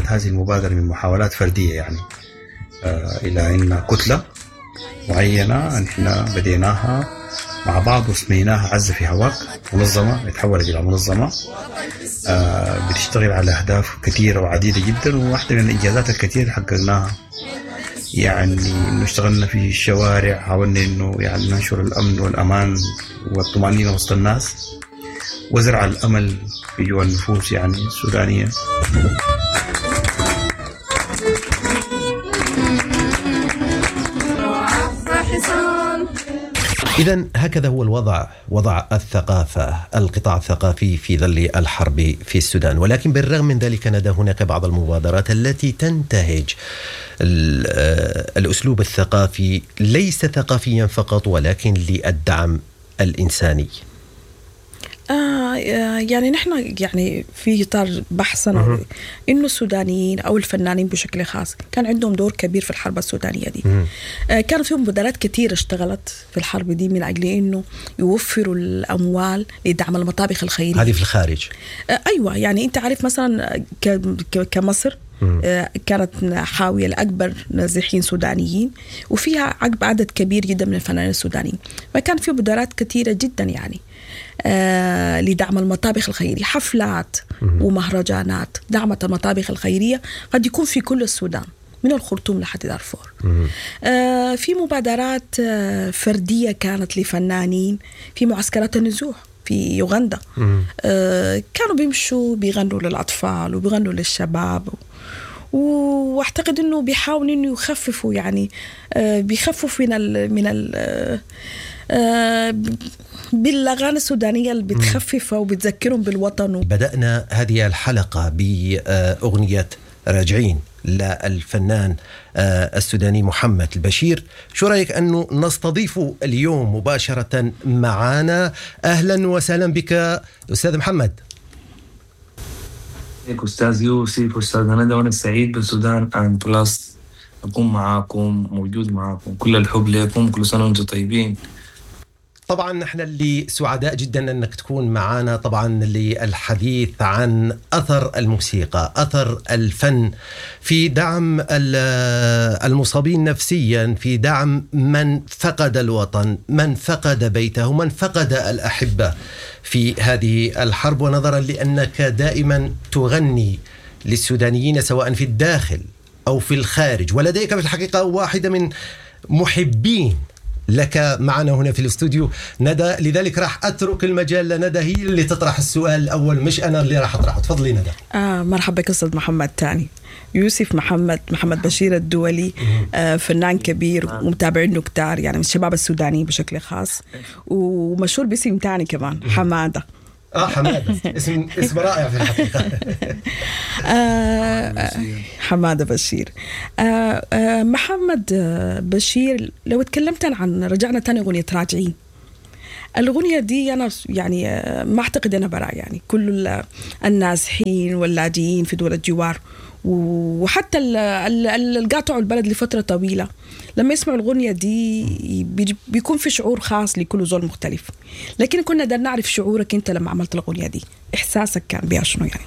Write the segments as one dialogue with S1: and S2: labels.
S1: هذه المبادرة من محاولات فردية يعني إلى أن كتلة معينة نحن بديناها مع بعض وسميناها عزة في هواك، منظمة تحولت إلى منظمة بتشتغل على أهداف كثيرة وعديدة جدا. وواحدة من الإنجازات الكثيرة اللي حققناها يعني إنه اشتغلنا في الشوارع، حاولنا إنه يعني ننشر الأمن والأمان والطمأنينة وسط الناس وزرع الأمل في جوا النفوس يعني السودانية.
S2: إذا هكذا هو الوضع، وضع الثقافة، القطاع الثقافي في ظل الحرب في السودان. ولكن بالرغم من ذلك ندى هناك بعض المبادرات التي تنتهج الأسلوب الثقافي، ليس ثقافيا فقط ولكن للدعم الإنساني.
S3: يعني نحن يعني في إطار بحثنا إنه السودانيين أو الفنانين بشكل خاص كان عندهم دور كبير في الحرب السودانية دي. كان في مبادرات كثيرة اشتغلت في الحرب دي من أجل إنه يوفروا الأموال لدعم المطابخ الخيرية.
S2: هذه في الخارج.
S3: أيوة، يعني أنت عارف مثلا كمصر كانت حاوية الأكبر نازحين سودانيين، وفيها عدد كبير جدا من الفنانين السودانيين، فكان في مبادرات كثيرة جدا يعني لدعم المطابخ الخيرية، حفلات ومهرجانات دعمت المطابخ الخيرية قد يكون في كل السودان من الخرطوم لحد دارفور. في مبادرات فردية كانت لفنانين في معسكرات النزوح في يوغندا. كانوا بيمشوا بيغنوا للأطفال وبيغنوا للشباب، واعتقد انه بيحاولوا انه يخففوا يعني بيخففوا من ال بالاغاني السودانية اللي بتخففها وبتذكرهم بالوطن.
S2: بدأنا هذه الحلقة باغنية راجعين للفنان السوداني محمد البشير. شو رايك انه نستضيفه اليوم مباشرة معنا؟ اهلا وسهلا بك استاذ محمد.
S4: أستاذ يوسف أستاذ ندى، وأنا سعيد بالسودان أند بلس أكون معاكم، موجود معاكم. كل الحب لكم، كل سنة وأنتم طيبين.
S2: طبعا نحن اللي سعداء جدا أنك تكون معنا، طبعا للحديث عن أثر الموسيقى، أثر الفن في دعم المصابين نفسيا، في دعم من فقد الوطن، من فقد بيته، من فقد الأحبة في هذه الحرب. ونظرا لأنك دائما تغني للسودانيين سواء في الداخل أو في الخارج، ولديك في الحقيقة واحدة من محبين لك معنا هنا في الاستوديو ندى، لذلك راح أترك المجال لندى، هي اللي تطرح السؤال الأول مش أنا اللي راح أطرحه. تفضلي ندى.
S3: مرحبا بك أستاذ محمد. تاني يوسف محمد بشير الدولي، فنان كبير ومتابعينه كتار يعني من الشباب السودانيين بشكل خاص، ومشهور باسم تاني كمان حمادة.
S2: حمادة اسم رائع في الحقيقة.
S3: حمادة بشير. محمد بشير، لو تكلمت عن رجعنا تاني أغنية راجعين، الأغنية دي أنا يعني ما أعتقد أنا براء، يعني كل النازحين واللاجئين في دول الجوار وحتى اللي قاطعوا البلد لفترة طويلة لما يسمعوا الأغنية دي بيكون في شعور خاص لكل زول مختلف. لكن كنا بدنا نعرف شعورك أنت لما عملت الأغنية دي، إحساسك كان بيها شنو يعني؟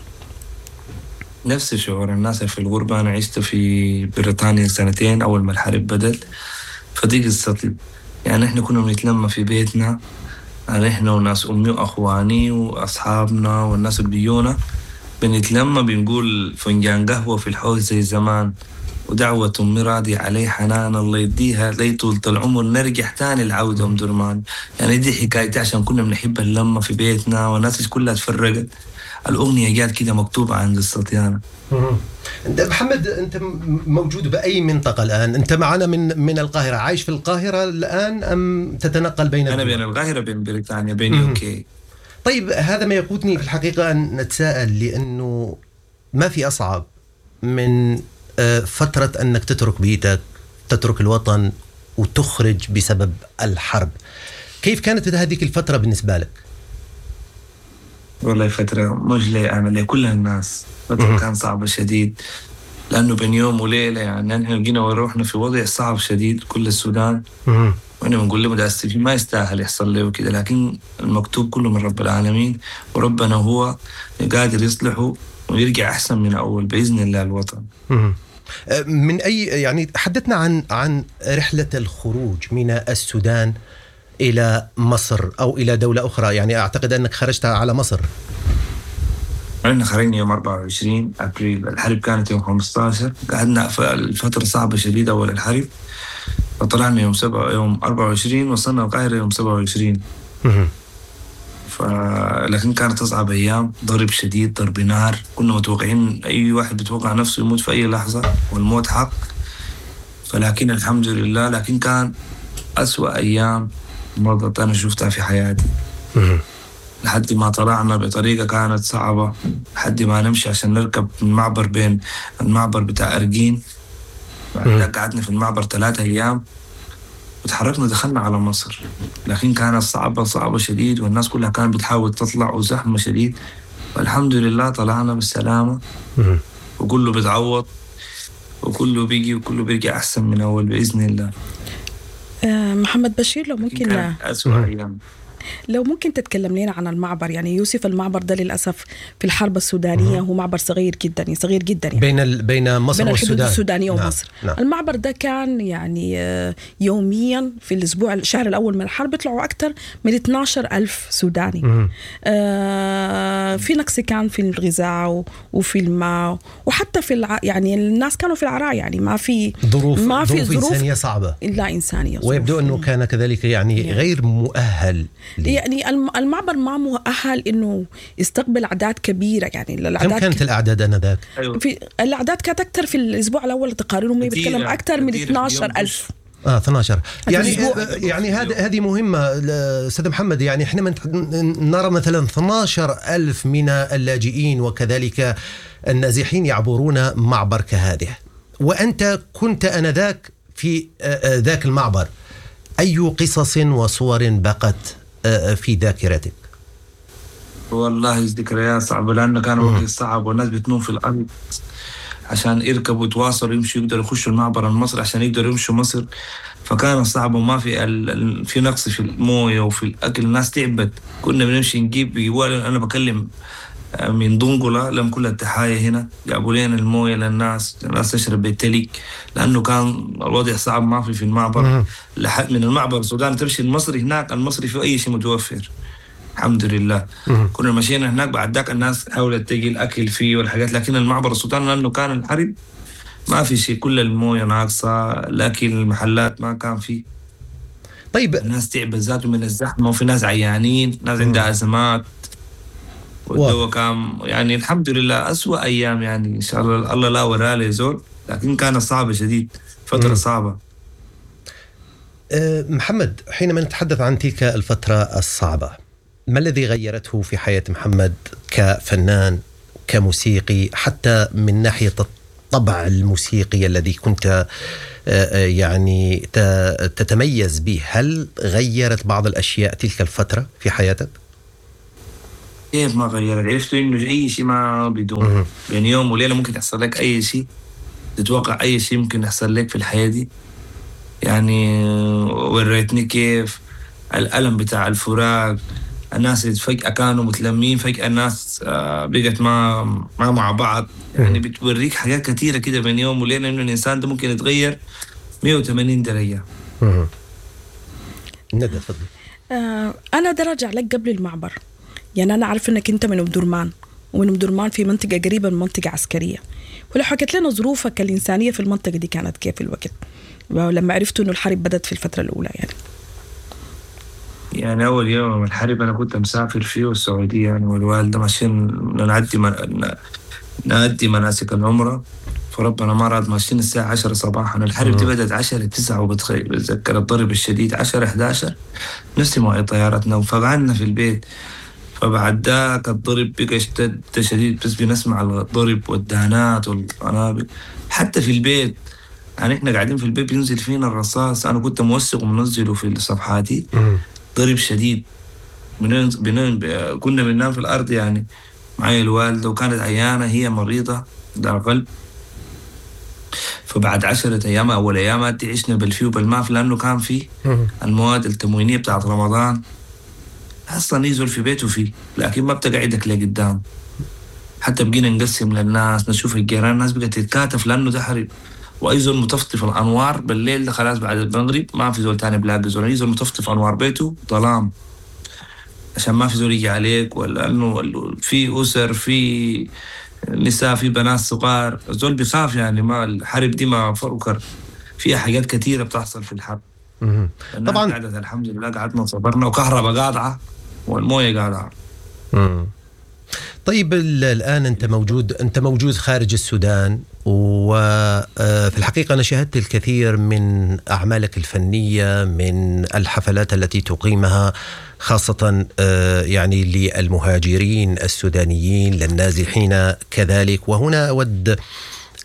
S4: نفس شعور الناس في الغربة. أنا عشت في بريطانيا سنتين أول ما الحرب بدت، فدي قصتي. يعني إحنا كنا بنتلم في بيتنا، إحنا وناس أمي وأخواني وأصحابنا والناس اللي بيجونا، بنتلم بنقول فنجان قهوة في الحوش زي زمان، ودعوة أمي راضية علي حنان الله يديها لي طولة العمر، نرجع تاني العودة أم درمان. يعني دي حكايتي، عشان كنا بنحب اللمة في بيتنا والناس كلها تفرقت. الأغنية جات كده مكتوبة عن قصتي أنا.
S2: محمد، أنت موجود بأي منطقة الآن؟ أنت معنا من القاهرة، عايش في القاهرة الآن أم تتنقل بين؟
S4: أنا بين القاهرة بين بريطانيا بين UK.
S2: طيب، هذا ما يقودني في الحقيقة أن نتساءل، لأنه ما في أصعب من فترة أنك تترك بيتك، تترك الوطن وتخرج بسبب الحرب. كيف كانت هذه الفترة بالنسبة لك؟
S4: والله فترة مش لي أنا، لكل الناس فترة كان صعبة شديد، لأنه بين يوم وليلة يعني نحن جينا وروحنا في وضع صعب شديد كل السودان. وأنا بنقول له متأسفين ما يستاهل يحصل له وكده، لكن المكتوب كله من رب العالمين، وربنا هو قادر يصلحه. ويرجع أحسن من أول بإذن الله الوطن.
S2: من أي يعني حدثنا عن رحلة الخروج من السودان إلى مصر أو إلى دولة أخرى، يعني أعتقد أنك خرجت على مصر.
S4: احنا خرجنا يوم 24 أبريل، الحرب كانت يوم 15، قعدنا الفترة صعبة شديدة أول الحرب، فطلعنا يوم 24، وصلنا القاهرة يوم 27. لكن كانت أصعب أيام، ضرب شديد، ضرب نار، كنا متوقعين أي واحد بيتوقع نفسه يموت في أي لحظة، والموت حق. فلكن الحمد لله، لكن كان أسوأ أيام مضت أنا شفتها في حياتي. لحد ما طلعنا بطريقة كانت صعبة، لحد ما نمشي عشان نركب المعبر بين المعبر بتاع أرجين. بعد قعدنا في المعبر 3 أيام وتحركنا دخلنا على مصر، لكن كانت صعبة صعبة شديد، والناس كلها كانت بتحاول تطلع وزحمة شديد. والحمد لله طلعنا بالسلامة، وكله بيتعوض وكله بيجي وكله بيرجع أحسن من أول بإذن الله.
S3: محمد بشير، لو ممكن تتكلم لنا عن المعبر. يعني يوسف، المعبر ده للأسف في الحرب السودانية هو معبر صغير جدا، صغير جدا يعني
S2: بين مصر
S3: بين
S2: والسودان،
S3: الحدود السودانية ومصر. نعم. المعبر ده كان يعني يوميا في الأسبوع الشهر الأول من الحرب يطلعوا أكثر من 12,000 سوداني. في نقص كان في الغذاء وفي الماء وحتى في يعني الناس كانوا في العراء، يعني ما في
S2: ظروف، ما في ظروف إنسانية صعبة،
S3: لا إنسانية،
S2: ويبدو أنه كان كذلك يعني غير مؤهل.
S3: يعني المعبر ما مؤهل انه يستقبل اعداد كبيرة. يعني
S2: الاعداد كم كانت الاعداد انذاك؟
S4: أيوة.
S3: في الاعداد كانت اكثر في الاسبوع الاول تقاريرهم بيتكلم اكثر من 12,000.
S2: 12 يعني هذه مهمة استاذ محمد. يعني احنا نرى مثلا 12,000 من اللاجئين وكذلك النازحين يعبرون معبر كهذه، وانت كنت انذاك في ذاك المعبر، اي قصص وصور بقت في ذاكرتك؟
S4: والله ذكريات صعبة، لأنه كان وقت صعب والناس بتنوم في الأرض عشان يركبوا ويتواصلوا يمشوا يقدروا يخشوا المعبر المصري عشان يقدروا يمشوا مصر. فكان صعب، وما في في نقص في الموية وفي الأكل، الناس تعبت. كنا بنمشي نجيب، أنا بكلم من دنقلة لم كل التحايا هنا، جابوا لنا الموية للناس، الناس تشرب بالتلك، لأنه كان الوضع صعب، ما في المعبر. لحد من المعبر السودان تمشي المصري هناك، المصري في أي شيء متوفر الحمد لله. كنا مشينا هناك بعد ذاك الناس حاولت تجي الأكل فيه والحاجات، لكن المعبر السودان لأنه كان الحرب ما في شيء، كل الموية ناقصة، الأكل المحلات ما كان فيه.
S2: طيب
S4: الناس تعبت ذاته من الزحمة، وفي ناس عيانين، ناس عندها أزمات، والدواء كان يعني الحمد لله أسوأ أيام، يعني إن شاء الله الله لا وراه لزول، لكن كانت صعبة شديد، فترة صعبة.
S2: محمد، حينما نتحدث عن تلك الفترة الصعبة، ما الذي غيرته في حياة محمد كفنان، كموسيقي، حتى من ناحية الطبع الموسيقي الذي كنت يعني تتميز به؟ هل غيرت بعض الأشياء تلك الفترة في حياتك؟
S4: كيف ما غيرت؟ عرفت انه اي شيء ما بدون بين يوم وليلة ممكن يحصل لك اي شيء، تتوقع اي شيء ممكن يحصل لك في الحياة دي. يعني وريتني كيف الالم بتاع الفراق، الناس اللي فجاة كانوا متلمين، فجاة الناس بقت ما مع بعض. يعني بتوريك حاجات كثيرة كده بين يوم وليلة، انه الانسان ده ممكن يتغير 180 درجه.
S2: ندى تفضل.
S3: انا درجة لك قبل المعبر. يعني أنا عارف إنك أنت من أم درمان، ومن أم درمان في منطقة قريبة من منطقة عسكرية، ولو حكيت لنا ظروفك الإنسانية في المنطقة دي كانت كيف الوقت لما عرفتوا إنه الحرب بدأت في الفترة الأولى؟
S4: يعني أول يوم الحرب أنا كنت مسافر فيه السعودية، يعني والوالدة ماشيين نأدي مناسك العمرة، فربنا ما راد، ماشيين الساعة 10 صباحا. الحرب دي بدأت 10 9، وبتذكر الضرب الشديد 10 11 نفس مواعيد طيارتنا، فقعدنا في البيت. فبعد ذاك الضرب بقى اشتد شديد، بس بنسمع الضرب والدهانات والقنابل حتى في البيت. يعني احنا قاعدين في البيت بينزل فينا الرصاص، انا كنت موثق ومنزلة في صفحاتي. ضرب شديد، كنا بننام في الارض. يعني معي الوالدة وكانت عيانه، هي مريضه ده قلب. فبعد 10 ايام اول ايام عشنا بالفي وبالماف، لانه كان في المواد التموينيه بتاعت رمضان اصلا يزول في بيته فيه، لكن ما بتقعدك لقدام. حتى بقينا نقسم للناس، نشوف الجيران، الناس بقت تتكاتف لانه ده حرب. واي زول مطفطف الانوار بالليل ده خلاص بعد المغرب ما في زول تاني بلاقي زول، اي زول مطفطف انوار بيته ظلام عشان ما في زول يجي عليك، ولا انه في اسر، في نساء، في بنات صغار، الزول بيخاف يعني. ما الحرب دي ما فرقر، فيها حاجات كثيرة بتحصل في الحرب.
S2: طبعا
S4: قعدت الحمد لله، قعدنا صبرنا، وكهرباء قاطعه والمويه قاطعه.
S2: طيب الآن أنت موجود خارج السودان، وفي الحقيقة أنا شاهدت الكثير من أعمالك الفنية، من الحفلات التي تقيمها، خاصة يعني للمهاجرين السودانيين، للنازحين كذلك. وهنا أود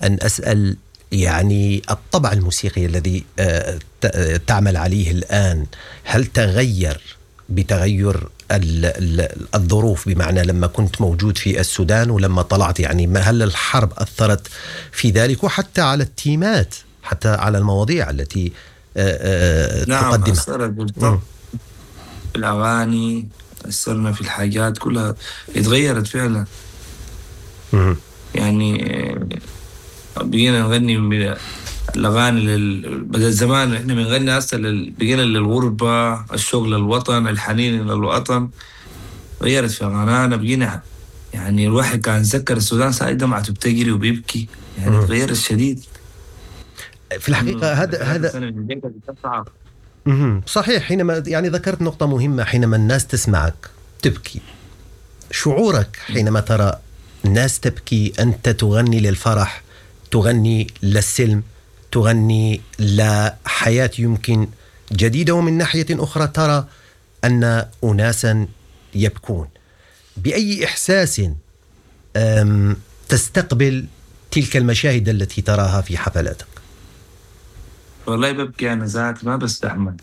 S2: أن أسأل يعني الطبع الموسيقي الذي تعمل عليه الآن، هل تغير بتغير الظروف؟ بمعنى لما كنت موجود في السودان ولما طلعت، يعني هل الحرب أثرت في ذلك، وحتى على التيمات، حتى على المواضيع التي
S4: نعم
S2: تقدمها؟
S4: أثرت بالطبع. الأغاني أثرنا في الحاجات كلها، اتغيرت فعلا. يعني بقينا نغني الأغاني بدل زمان إحنا بنغني هسه بقينا للغربة، الشوق للوطن، الحنين للوطن. غيرت في أغانينا، بقينا يعني الواحد كان ذكر السودان ساعة دمعته بتجري وبيبكي، يعني تغير الشديد
S2: في الحقيقة. هذا صحيح. حينما يعني ذكرت نقطة مهمة، حينما الناس تسمعك تبكي، شعورك حينما ترى الناس تبكي، أنت تغني للفرح، تغني للسلم، تغني لحياة يمكن جديدة، ومن ناحية أخرى ترى أن أناسا يبكون. بأي إحساس تستقبل تلك المشاهد التي تراها في حفلاتك؟
S4: والله ببكي أنا ذاتي، ما بستحمل.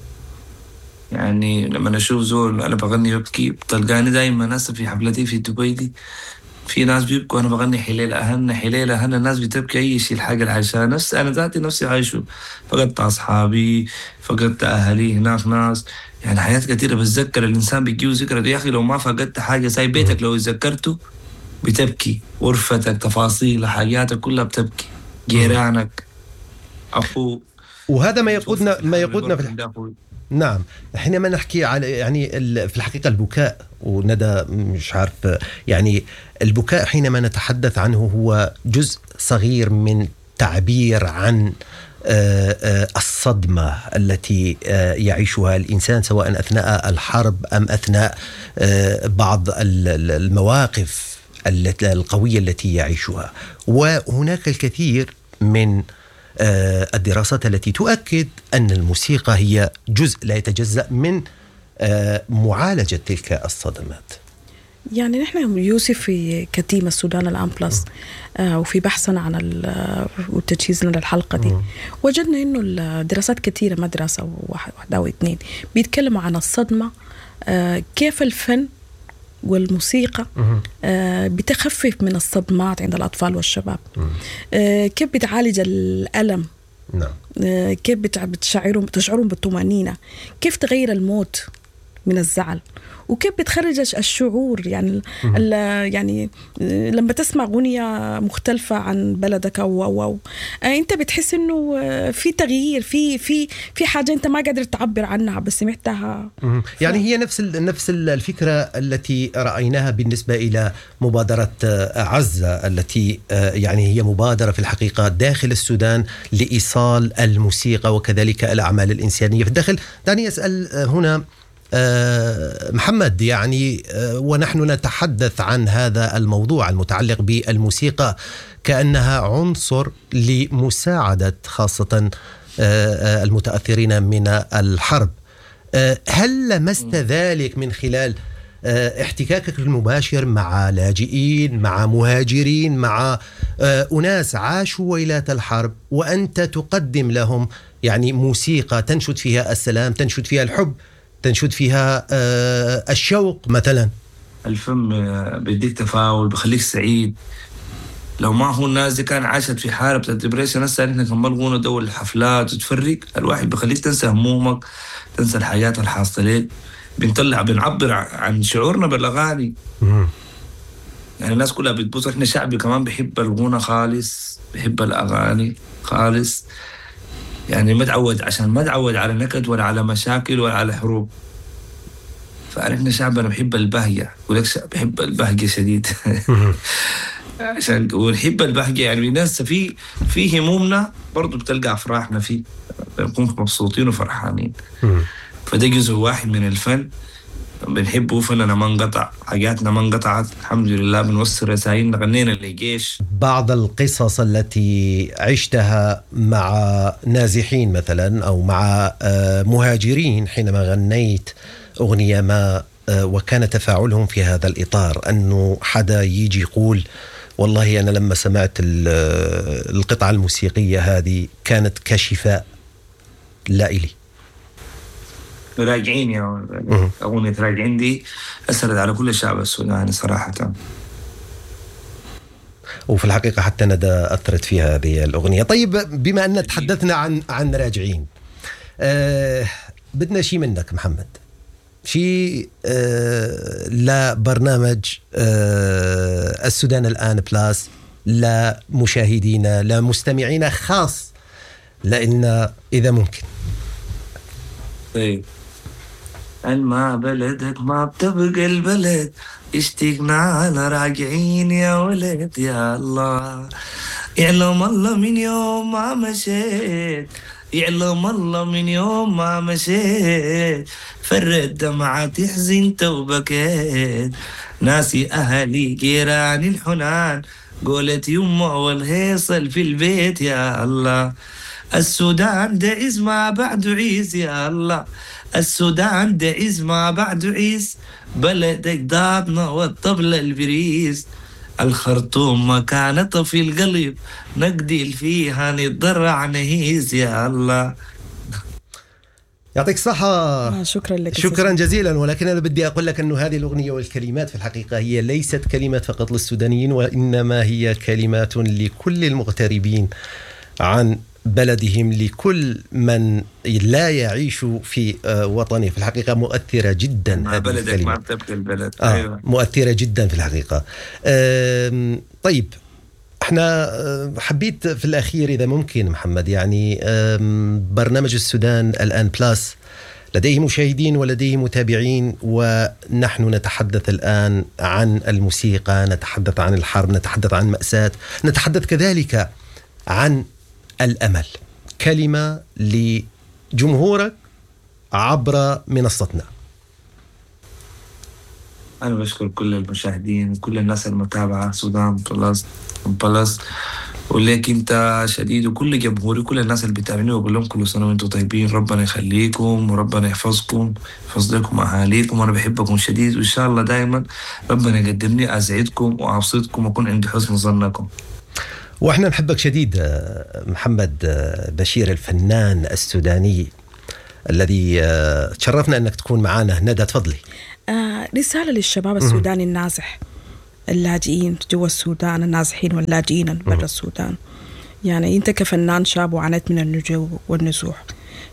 S4: يعني لما أشوف زول أنا بغني ببكي، بتلقاني دايما ناس في حفلتي في دبي دي في ناس بيبكوا، أنا بغني حليل أهلنا حليل أهلنا، الناس بتبكي. أي شيء الحاجة اللي عايشها نفس أنا ذاتي نفسي عايشه، فقدت أصحابي، فقدت أهلي هناك ناس، يعني حياة كثيرة. بتذكر الإنسان بيجيه ذكرى يا أخي، لو ما فقدت حاجة زي بيتك لو تذكرته بتبكي، غرفتك، تفاصيل حاجاتك كلها بتبكي، جيرانك، أخوك.
S2: وهذا ما يقودنا في نعم، حينما نحكي على يعني في الحقيقة البكاء، وندى مش عارف يعني البكاء حينما نتحدث عنه هو جزء صغير من تعبير عن الصدمة التي يعيشها الإنسان، سواء أثناء الحرب أم أثناء بعض المواقف القوية التي يعيشها. وهناك الكثير من الدراسات التي تؤكد أن الموسيقى هي جزء لا يتجزأ من معالجة تلك الصدمات.
S3: يعني نحن يوسف في ك team السودان الآن بلس وفي بحثنا عن وتجهيزنا للحلقة دي وجدنا إنه الدراسات كثيرة، ما دراسة واحدة أو اثنين، بيتكلموا عن الصدمة، كيف الفن والموسيقى بتخفف من الصدمات عند الأطفال والشباب، كيف بتعالج الألم، كيف بتشعرهم بالطمأنينة، كيف تغير الموت من الزعل، وكيف بتخرج الشعور. يعني يعني لما تسمع غنية مختلفة عن بلدك أو أنت بتحس إنه في تغيير، في في في حاجة أنت ما قادر تعبر عنها بس سمعتها.
S2: يعني هي نفس الفكرة التي رأيناها بالنسبة إلى مبادرة عزة، التي يعني هي مبادرة في الحقيقة داخل السودان لإيصال الموسيقى وكذلك الأعمال الإنسانية في الداخل. دعني أسأل هنا محمد، يعني ونحن نتحدث عن هذا الموضوع المتعلق بالموسيقى كأنها عنصر لمساعدة خاصة المتأثرين من الحرب، هل لمست ذلك من خلال احتكاكك المباشر مع لاجئين، مع مهاجرين، مع أناس عاشوا ويلات الحرب، وأنت تقدم لهم يعني موسيقى تنشد فيها السلام، تنشد فيها الحب، تنشد فيها الشوق مثلا؟
S4: الفم بيديك تفاؤل، بخليك سعيد. لو ما هو الناس دي كان عاشت في حالة بتاعت depression، هسه احنا كمان غونا دول الحفلات وتفرق الواحد، بخليك تنسى همومك، تنسى الحاجات الحاصلة لك. بنطلع بنعبر عن شعورنا بالاغاني. يعني الناس كلها بتبص. احنا شعبي كمان بحب الغنى خالص، بحب الاغاني خالص، يعني ما تعود، عشان ما تعود على نكد ولا على مشاكل ولا على حروب. فاحنا شعبنا بحب البهجة، يقول لك بحب البهجة شديد. عشان ونحب البهجة، يعني الناس في همومنا برضو بتلقى افراحنا فيه، بنكون مبسوطين وفرحانين. فده جزء واحد من الفن بنحبه. فننا ما انقطع، حاجاتنا ما انقطعت الحمد لله، بنوصل رسائلنا، غنينا للجيش.
S2: بعض القصص التي عشتها مع نازحين مثلا أو مع مهاجرين حينما غنيت أغنية ما، وكان تفاعلهم في هذا الإطار، أنه حدا يجي يقول والله أنا لما سمعت القطعة الموسيقية هذه كانت كشفاء لا إلي.
S4: راجعين يا أغنية راجعين دي أثرت على كل الشعب السوداني صراحة،
S2: وفي الحقيقة حتى ندى أثرت فيها هذه الأغنية. طيب، بما أن تحدثنا عن راجعين، بدنا شيء منك محمد، شيء لبرنامج السودان الآن بلاس، لا مشاهدينا لا مستمعينا خاص، لأن إذا ممكن.
S4: طيب، الما بلدك ما بتبقى البلد، اشتقنا على راجعين يا ولد يا الله، يعلم الله من يوم ما مشيت، يعلم الله من يوم ما مشيت، فرد دمعاتي حزنت وبكيت، ناسي أهلي جيراني الحنان، قولت يمه والهيصل في البيت يا الله، السودان ده عز ما بعده عيس يا الله، السودان ده عز ما بعده عيس، بلد أجدادنا والطبلة البريس، الخرطوم مكانتها في القلب، نقدل فيها نتضرع نهيز يا الله.
S2: يعطيك الصحة.
S3: شكرا لك،
S2: شكرا جزيلا. ولكن أنا بدي أقول لك أنه هذه الأغنية والكلمات في الحقيقة هي ليست كلمات فقط للسودانيين، وإنما هي كلمات لكل المغتربين عن بلدهم، لكل من لا يعيش في وطنه. في الحقيقة مؤثرة جدا
S4: مع بلدك ما بتبقى البلد.
S2: أيوة. مؤثرة جدا في الحقيقة. طيب، احنا حبيت في الأخير إذا ممكن محمد، يعني برنامج السودان الآن بلاس لديه مشاهدين ولديه متابعين، ونحن نتحدث الآن عن الموسيقى، نتحدث عن الحرب، نتحدث عن مأساة، نتحدث كذلك عن الأمل. كلمة لجمهورك عبر منصتنا.
S4: أنا بشكر كل المشاهدين وكل الناس المتابعة سودان بلس، وليك أنت شديد، وكل جمهوري كل الناس اللي بتابعني، وأقول لهم كل سنة وأنتم طيبين، ربنا يخليكم وربنا يحفظكم، يحفظ لكم أهاليكم، وأنا بحبكم شديد، وإن شاء الله دائما ربنا يقدمني أسعدكم وأبسطكم وأكون عند حسن ظنكم.
S2: واحنا نحبك شديد محمد بشير الفنان السوداني الذي تشرفنا انك تكون معنا. ندى تفضلي.
S3: رسالة للشباب السوداني النازح، اللاجئين جوا السودان، النازحين واللاجئين برا السودان. يعني انت كفنان شاب وعانيت من النجوع والنزوح،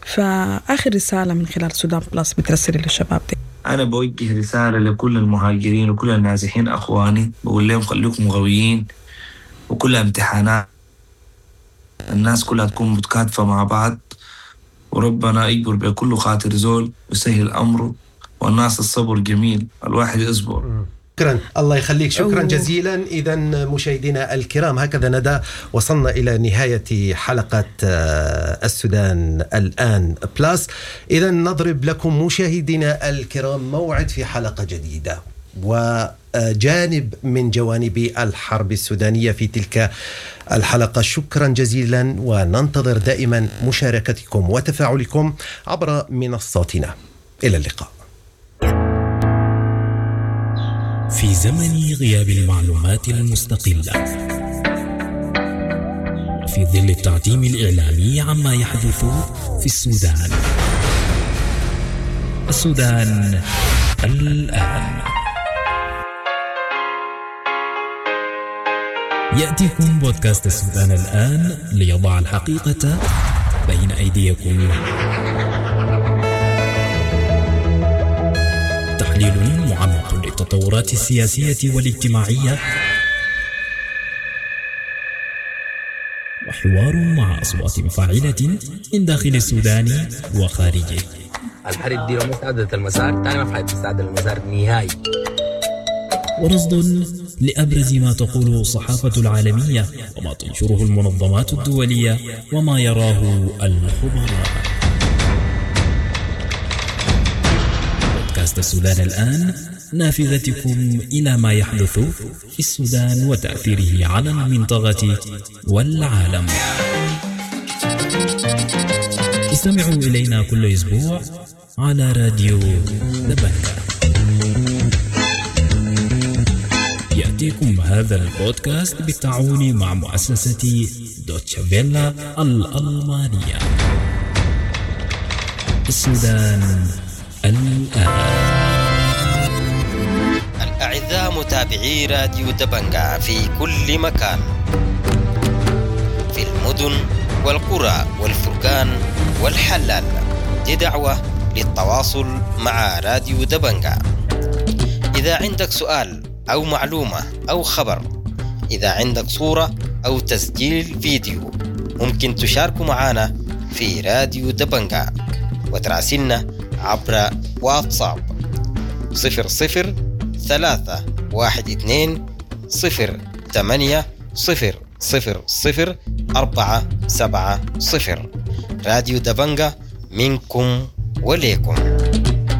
S3: فآخر رسالة من خلال سودان بلس بترسل للشباب دي.
S4: أنا بوجه رسالة لكل المهاجرين وكل النازحين أخواني، بقول لهم خليكم قويين، وكلها امتحانات، الناس كلها تكون متكاتفة مع بعض، وربنا يجبر بكل خاطر زول ويسهل أمره، والناس الصبر جميل، الواحد يصبر.
S2: شكرا، الله يخليك، شكرا جزيلا. إذا مشاهدينا الكرام، هكذا ندى وصلنا إلى نهاية حلقة السودان الآن بلاس. إذا نضرب لكم مشاهدينا الكرام موعد في حلقة جديدة وجانب من جوانب الحرب السودانية في تلك الحلقة. شكرا جزيلا، وننتظر دائما مشاركتكم وتفاعلكم عبر منصاتنا. إلى اللقاء.
S5: في زمن غياب المعلومات المستقلة، في ظل التعتيم الإعلامي عما يحدث في السودان، السودان الآن. يأتيكم بودكاست السودان الآن ليضع الحقيقة بين أيديكم. تحليل معمق للتطورات التطورات السياسية والاجتماعية، وحوار مع أصوات فاعلة من داخل السودان وخارجه.
S6: الحرب دي لو ما استعدلت المسار تاني ما في حاجة تستعدل المسار نهائي.
S5: ورصد لأبرز ما تقوله الصحافة العالمية وما تنشره المنظمات الدولية وما يراه الخبراء. بودكاست السودان الآن، نافذتكم إلى ما يحدث في السودان وتأثيره على المنطقة والعالم. استمعوا إلينا كل أسبوع على راديو دبنجا. يأتيكم هذا البودكاست بالتعاون مع مؤسسة دوتشا فيلا الألمانية. السودان الآن.
S7: الأعزاء متابعي راديو دبنجا في كل مكان، في المدن والقرى والفرقان والحلال، دي دعوة للتواصل مع راديو دبنجا. إذا عندك سؤال أو معلومة أو خبر، إذا عندك صورة أو تسجيل فيديو، ممكن تشاركوا معنا في راديو دبنجا وتراسلنا عبر واتساب 00 3 1 2 0 8 0 0 0 4 7 0. راديو دبنجا منكم وليكم.